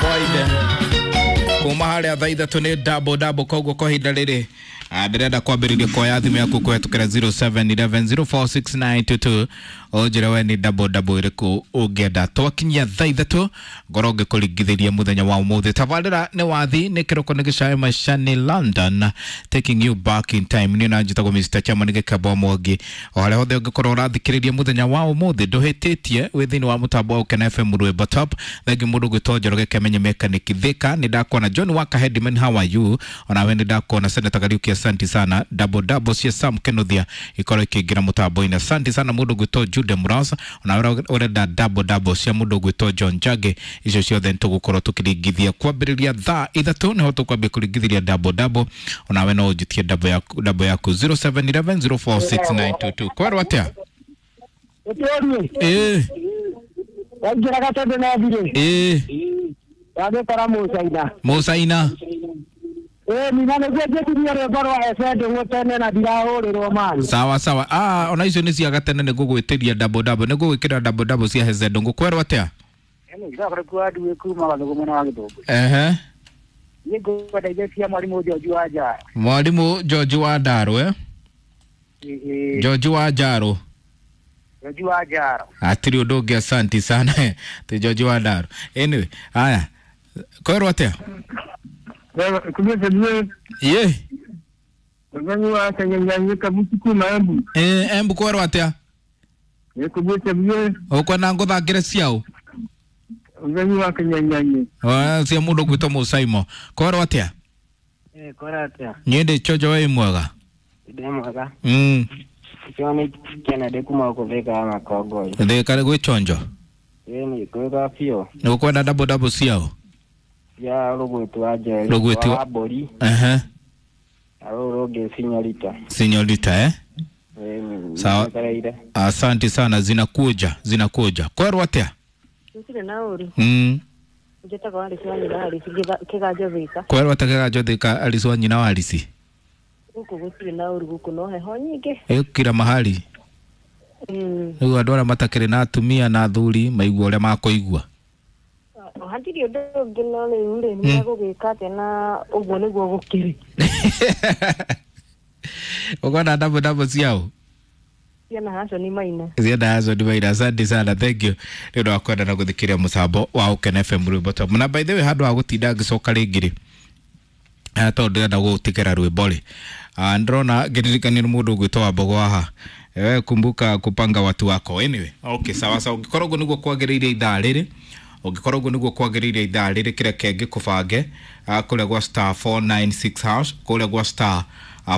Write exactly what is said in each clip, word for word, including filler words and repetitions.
Boyd kuma harĩa thaa ithatũ nĩ double double, koguo kwa ihinda rĩrĩ ndĩrenda kwambĩrĩria kuoya thimũ yaku kũhetũkĩra zero seven one one zero four six nine two two, ũnjĩre we nĩ double double ĩrĩkũ ũngĩenda. Twakinyia thaa ithatũ ngorwo ngĩkũringithĩria mũthenya wa ũmũthĩ. Tabarĩra nĩ wathi nĩ kĩroko nĩ gĩcae maica nĩ London, taking you back in time. Niĩ na njĩtagwo Mister Chairman Gĩkembo Mwangi. O harĩa hothe ũngĩkorwo ũrathikĩrĩria mũthenya wa ũmũthĩ, ndũhĩtĩtie wĩ thĩinĩ wa mũtambo wa Ũkena F M Rwĩmbo Top. Thengi mũndũ gwĩtwo Njoroge Kĩmenye Mechanic Thika, nĩ ndakuona. John Waka Headman, how are you? Onawe nĩ ndakuona. Senator Kariuki, asante sana. Double double cia Sam Kenothia ikorwo ikĩingĩra mũtambo-inĩ, asante sana. Mũndũ gwĩtwo Jude Murasa, onawe ũrenda double double cia mũndũ gwĩtwo John Jage, icio ciothe nĩ tũgũkorwo tũkĩringithia kwambĩrĩria thaa ithatũ, nĩho tũkwambia kũringithĩria double double. Onawe no ũnjitie double yaku, double yaku zero seven one one zero four six nine two two. Kwerwo atĩa? Ũtũrie. Ĩĩ. Waingĩra gatende na thirĩ. Ĩĩ. Wagĩkora Mũcaina. Mũcaina. Ĩĩ nina nĩguo njĩtirie rwĩmbo rwa Ese Ndũng'ũ tene na ndirahũrĩrwo mani. Sawa sawa. Ah, ona icio nĩ cia gatene, nĩ ngũgwĩtĩria double double, nĩ ngũgwĩkĩra double double cia Heze Ndũng'ũ. Kwerwo atĩa? Ehe. Niĩ ngwenda iria cia mwarimũ George wa Njara. Mwarimũ George wa Ndarũ, eh? George wa Njarũ. George wa Njara. Hatirĩ ũndũ ũngĩ, asanti sana. Ti George wa Ndarũ. Anyway, haya. Kwerwo atĩa? Ye. Eh, Embu kwerwo atĩa? Ũkwenda ngũthakĩre ciaũ? Cia mũndũ ũgwĩtwo Mũcaimo. Kwerwo atĩa? Eh, kwerwo atĩa? Niĩ ndĩ chonjo, wĩ mwega? Ndĩ mwega. Mm. Icio nĩ Kennedy kuma gũkũ Thika ya Makongoi. Thika gwĩ chonjo? Ĩĩ nĩ kwĩga biũ. Nĩ ũkwenda double double ciaũ? Cia Rũgwĩti wa Njeri. Rũgwĩti wa mbũri. Ehe. Na rũrũ rũngĩ Sinyorita. Sinyorita, eh? Ĩĩ. Sawa. Asante sana, zinakuja, zinakuja. Kwerwo atĩa? Gũtirĩ na ũru. Mm. Njĩtagwo Alice wa nyina Alice Kĩganjo Thika. Kwerwo atĩa Kĩganjo Thika, Alice wa nyina wa Alice? Gũkũ gũtirĩ na ũru, gũkũ no heho nyingĩ. Ĩ kila mahali. Mm. Rĩu andũ arĩa matakĩrĩ na atumia na athuri maigua ũrĩa makũigua. Hatirĩ ũndũ ũngĩ, no rĩu rĩ, nĩ megũgĩka atĩa na ũguo nĩguo gũkĩrĩ. Ũkona double double ciaũ? Ciana Hassan Maina. Ciana Hassan Maina, asante sana, thank you. Nĩ ũndũ wa kwenda na gũthikĩrĩria mũtambo wa Ũkena F M Rwĩmbo Top. Na by the way, handũ ha gũtinda ngĩcoka rĩngĩ rĩ, tondũ ndĩrenda gũgũtigĩra rwĩmbo rĩ, ndĩrona ngĩririkania nĩ mũndũ ũgwĩtwo Wambogo haha. Wewe kumbuka kupanga watu wako. Anyway, okay, sawa sawa. Ũngĩkorwo ũguo nĩguo kwagĩrĩire ithaa rĩrĩ, ũngĩkorwo ũguo nĩguo kwagĩrĩire ithaa rĩrĩ, kĩreke ngĩkũbange kũrĩa gwa star four nine six hash, kũrĩa gwa star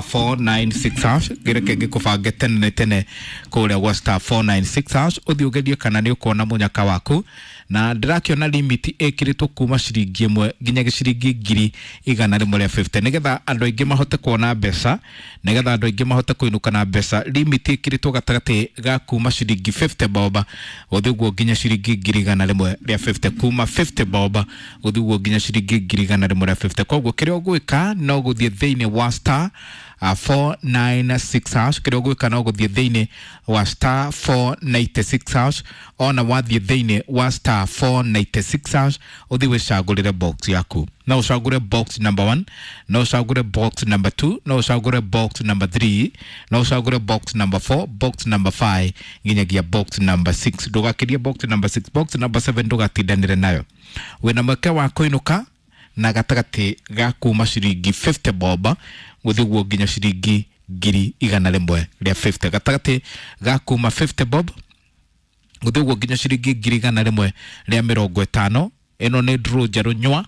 four nine six hash, kĩreke ngĩkũbange tene nĩ tene kũrĩa gwa star four nine six hash, ũthiĩ ũgerie kana nĩ ũkuona mũnyaka waku. Na ndĩrakĩona limit ĩkĩrĩtwo kuma ciringi ĩmwe nginya ciringi ngiri igana rĩmwe rĩa fifty, nĩgetha andũ aingĩ mahote kuona mbeca, nĩgetha andũ aingĩ mahote kũinũka na mbeca. Limit ĩkĩrĩtwo gatagatĩ ga kuma ciringi fifty bob gũthiĩ ũguo nginya ciringi ngiri igana rĩmwe rĩa fifty, kuma fifty bob gũthiĩ ũguo nginya ciringi ngiri igana rĩmwe rĩa fifty. Koguo kĩrĩa ũgwĩka no gũthiĩ thĩinĩ wa star four nine six hash, kĩrĩa ũgwĩka no gũthiĩ thĩinĩ wa star four ninety six hash. Ona wathiĩ thĩinĩ wa star four ninety six hash, ũthiĩ wĩcagũrĩre box yaku. No ũcagũre box number one, no ũcagũre box number two, no ũcagũre box number three, no ũcagũre box number four, box number five nginyagia box number six. Ndũgakĩrie box number six, box number seven ndũgatindanĩre nayo. Wĩna mweke wa kũinũka na gatagatĩ ga kuma ciringi fifty bob gũthiĩ ũguo nginya ciringi ngiri igana rĩmwe rĩa fifty, gatagatĩ ga kuma fifty bob gũthiĩ ũguo nginya ciringi ngiri igana rĩmwe rĩa mĩrongo ĩtano. Ĩno nĩ draw njerũ nyua,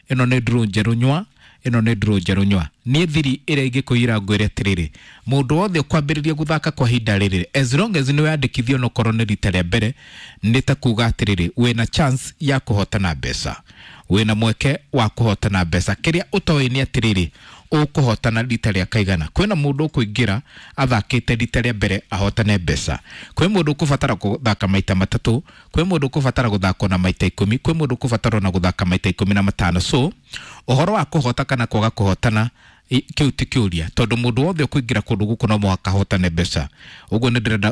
ĩno nĩ draw njerũ nyua, ĩno nĩ draw njerũ nyua. Niĩ thiri ĩrĩa ingĩkũira ngwĩre atĩrĩrĩ, mũndũ wothe ũkwambĩrĩria gũthaka kwa ihinda rĩrĩ, as long as nĩ weyandĩkithia onokorwo nĩ rita rĩa mbere, nĩ ta kuga atĩrĩrĩ, wĩna chance ya kũhotana mbeca, wĩna mweke wa kũhotana mbeca. Kĩrĩa ũtoĩ nĩ atĩrĩrĩ, ũkũhotana rita rĩa kaigana. Kwĩna mũndũ ũkũingĩra athakĩte rita rĩa mbere ahotane mbeca, kwĩ mũndũ ũkũbatara gũthaka maita matatũ, kwĩ mũndũ ũkũbatara gũthaka na maita ikũmi, kwĩ mũndũ ũkũbatara ona gũthaka maita ikũmi na matano. So ũhoro wa kũhota kana kwaga kũhotana Kiu ti kiuria tondu mundu wothe ukuingira kundu guku no muhaka ahotane mbeca. Uguo ni ndirenda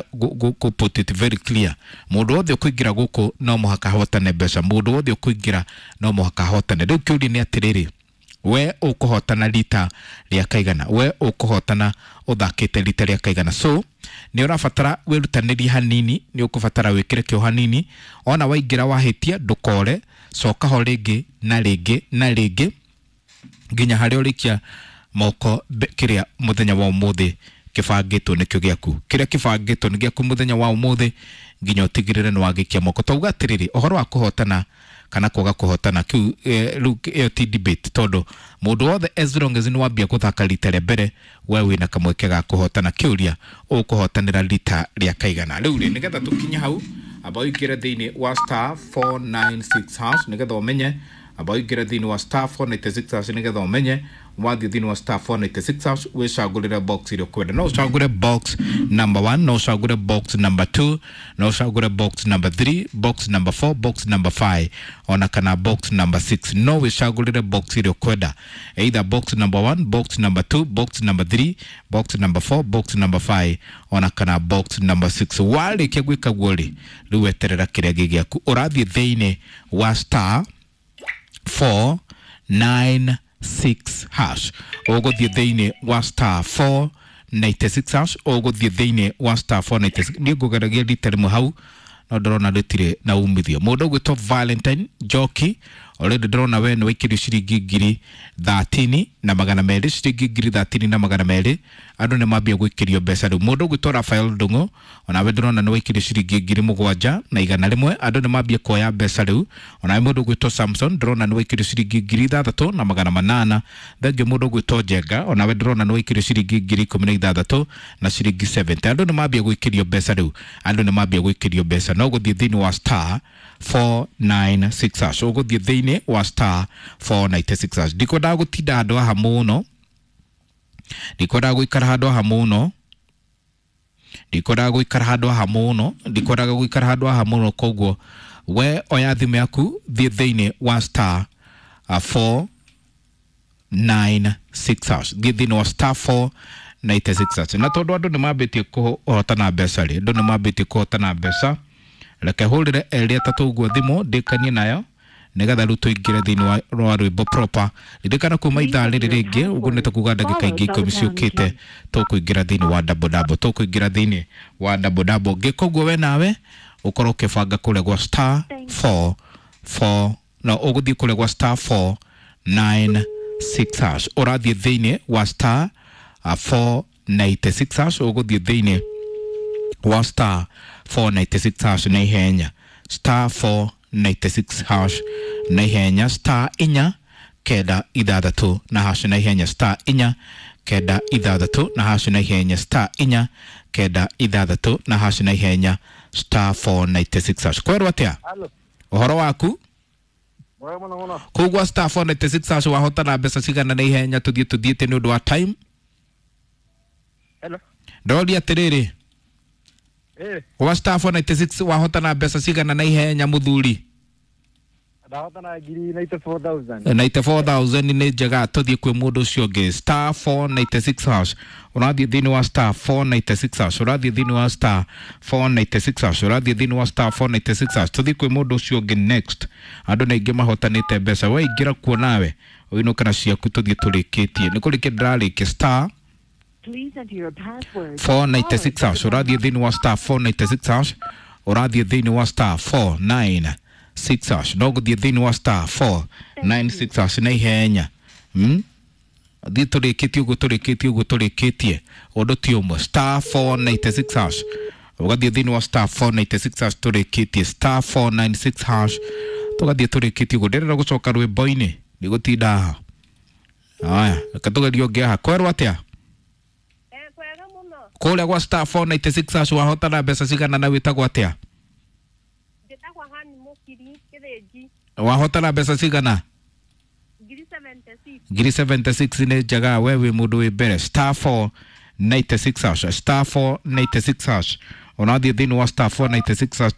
ku put it very clear, mundu wothe ukuingira guku no muhaka ahotane mbeca, mundu wothe ukuingira no muhaka ahotane. Riu kiuria ni atiriri, we ukuhotana rita ria kaigana, we ukuhotana uthakite rita ria kaigana. So ni urabatara wirutanirie hanini, ni ukubatara wikire kio hanini, ona waingira wahitia ndukore, coka ho ringi na ringi na ringi nginya haria urikia moko kiria muthenya wa umuthi kibangitwo nikio giaku, kiria kibangitwo ni giaku muthenya wa umuthi nginya utigirire ni wagikia moko. Tauga atiriri, uhoro wa kuhotana kana kwaga kuhotana kiu riu iyo ti debate, tondu mundu wothe as long as ni wambia guthaka rita ria mbere we wina kamweke ga kuhotana. Kiuria ukuhotanira rita ria kaigana. Riu ri nigetha tukinye hau, amba uingire thiini wa star four nine six hash nigetha umenye, amba uingire thiini wa star four nine six hash nigetha umenye wathi thiini wa star four nine six hash wicagurire box iria ukwenda. No ucagure box number one, no ucagure box number two, no ucagure box number three, box number four, box number five ona kana box number six. No wicagurire box iria ukwenda, either box number one, box number two, box number three, box number four, box number five ona kana box number six. Warikia gwika guo ri, riu weterera kiria gi giaku. Urathie thiini wa star four nine six hash, uguthie thiini wa star four nine six hash, uguthie thiini wa star four nine six. Ni ngugeragia rita rimwe hau no ndĩrona rĩtirĩ na umithio. Mũndũ ũgwĩtwo Valentine Njoki already ndĩrona we nĩ waikirio ciringi ngiri thirteen na magana merĩ, ciringi ngiri thirteen na magana merĩ. Andũ nĩ mambia gwĩkĩrio mbeca rĩu. Mũndũ ũgwĩtwo Rafael Ndung'u onawe ndĩrona nĩ waikirio ciringi ngiri mũgwanja na igana rĩmwe. Andũ nĩ mambia kuoya mbeca rĩu. Onawe mũndũ ũgwĩtwo Samson ndĩrona nĩ waikirio ciringi ngiri ithathatũ na magana manana. Thengiũ mũndũ ũgwĩtwo Njenga onawe ndĩrona nĩ waikirio ciringi ngiri ikũmi na ithathatũ na ciringi seventy. Andũ nĩ mambia gwĩkĩrio mbeca rĩu. Andũ nĩ mambia gwĩkĩrio mbeca. No gũthiĩ thĩinĩ wa star four nine six hash, ũgũthiĩ thĩinĩ wa star four nine six hash. Ndikwendaga gũtinda handũ haha mũno, ndikwendaga gũikara handũ haha mũno, ndikwendaga gũikara handũ haha mũno, ndikwendaga gũikara handũ haha mũno. Koguo we oya thimũ yaku, thiĩ thĩinĩ wa star four nine six hash, thiĩ thĩinĩ wa star four nine six hash. Na tondũ andũ nĩ mambĩtie kũhotana mbeca rĩ, andũ nĩ mambĩtie kũhotana mbeca, reke hũrĩre erĩ atatũ ũguo thimũ ndĩkanie nayo nigetha rĩu tũingĩre thĩinĩ wa rwĩmbo proper. Ririkana kuma ithaa rĩrĩ rĩngĩ ũguo nĩ ta kuga ndagĩka ingĩ ikũmi ciũkĩte tũkũingĩra thĩinĩ wa double double, tũkũingĩra thĩinĩ wa double double. Ngĩka ũguo we nawe ũkorwo ũkĩbanga kũrĩa gwa star four four, no ũgũthiĩ kũrĩa gwa star four nine six hash, ũrathiĩ thĩinĩ wa star four nine six hash, ũgũthiĩ thĩinĩ wa star four nine six hash na ihenya, star four nine six hash na ihenya, star inya kenda ithathatũ na hash na ihenya, star inya kenda ithathatũ na hash na ihenya, star inya kenda ithathatũ na hash na ihenya, star four nine six hash. Kwerwo atia ũhoro waku? Kũu gwa star four nine six hash wahotana mbeca cigana na ihenya? Tũthiĩ tũthiĩte nĩ ũndũ wa time. Ndoria atĩrĩrĩ, gwa star four nine six wahotana mbeca cigana na ihenya mũthuri? Ndahotana ngiri ninety-four thousand. ninety-four thousand nĩ njega. Tũthiĩ kwĩ mũndũ ũcio ũngĩ. Star four nine six hash, ũrathiĩ thĩinĩ wa star four nine six hash, ũrathiĩ thĩinĩ wa star four nine six hash, ũrathiĩ thĩinĩ wa star four nine six hash. Tũthiĩ kwĩ mũndũ ũcio ũngĩ next. Andũ nĩ aingĩ mahotanĩte mbeca, we ingĩra kuo nawe ũinũke na ciaku. Tũthiĩ tũrĩkĩtie, nĩ kũrĩkia ndĩrarĩkia. Star four nine six hash, ũrathiĩ thĩinĩ wa star four nine six hash, ũrathiĩ thĩinĩ wa star four nine six hash, no gũthiĩ thĩinĩ wa star four nine six hash na ihenya. Hmm? Thiĩ tũrĩkĩtie ũguo, tũrĩkĩtie ũguo, tũrĩkĩtie ũndũ ti ũmwe. Star four nine six hash, ũgathiĩ thĩinĩ wa star four nine six hash, tũrĩkĩtie star four nine six hash, tũgathiĩ tũrĩkĩtie ũguo. Ndĩrenda gũcoka rwĩmbo-inĩ, ndigũtinda haha. Aya, reke tũgerie ũngĩ haha. Kwerwo atĩa? Kũrĩa gwa star four nine six hash wahotana mbeca cigana na wĩtagwo atĩa? Wahotana mbeca cigana? Ngiri seventy-six nĩ njega. We wĩ mũndũ wĩ mbere. Star four nine six hash, star four nine six hash, ũrathiĩ thĩinĩ wa star four nine six hash.